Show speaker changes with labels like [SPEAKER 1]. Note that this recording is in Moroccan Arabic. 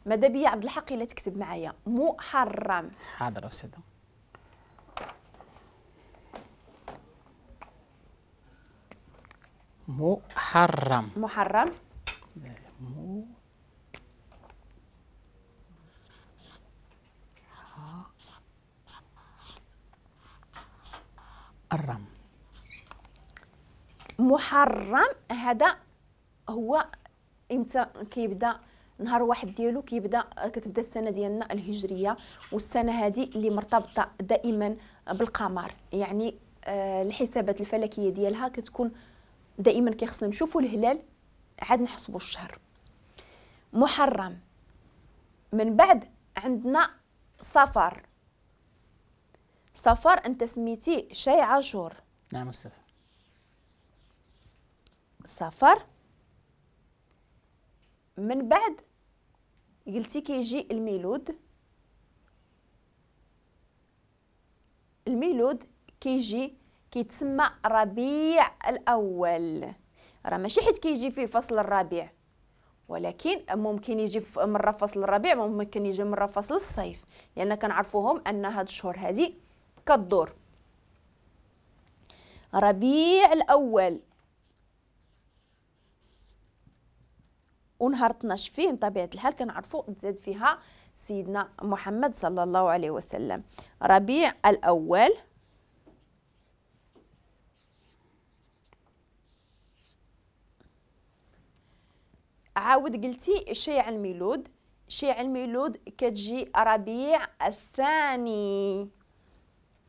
[SPEAKER 1] ماذا بيا عبد الحق الا تكتب معايا محرم.
[SPEAKER 2] حاضر استاذه. محرم.
[SPEAKER 1] محرم.
[SPEAKER 2] محرم.
[SPEAKER 1] محرم هذا هو امتى كيبدا؟ نهار واحد ديالو كيبدا، كتبدا السنة ديالنا الهجرية، والسنة هذه اللي مرتبطة دائما بالقمر، يعني الحسابات الفلكية ديالها كتكون دائما كيخصنا نشوفوا الهلال عاد نحسبوا الشهر. محرم. من بعد عندنا صفر. صفر انت سميتي شي عاشور.
[SPEAKER 2] نعم استاذ.
[SPEAKER 1] صفر. من بعد قلتي كيجي الميلود. الميلود كيجي كيتسمى ربيع الأول، راه ماشي حيت كيجي فيه فصل الربيع، ولكن ممكن يجي مرة فصل الربيع، ممكن يجي مرة فصل الصيف، لأن كنعرفوهم أن هاد الشهور هادي كدور. ربيع الأول ونهار 12 فيه بطبيعة الحال كنعرفوا تزاد فيها سيدنا محمد صلى الله عليه وسلم. ربيع الأول. عاود قلتي شيع الميلود. شيع الميلود كتجي ربيع الثاني.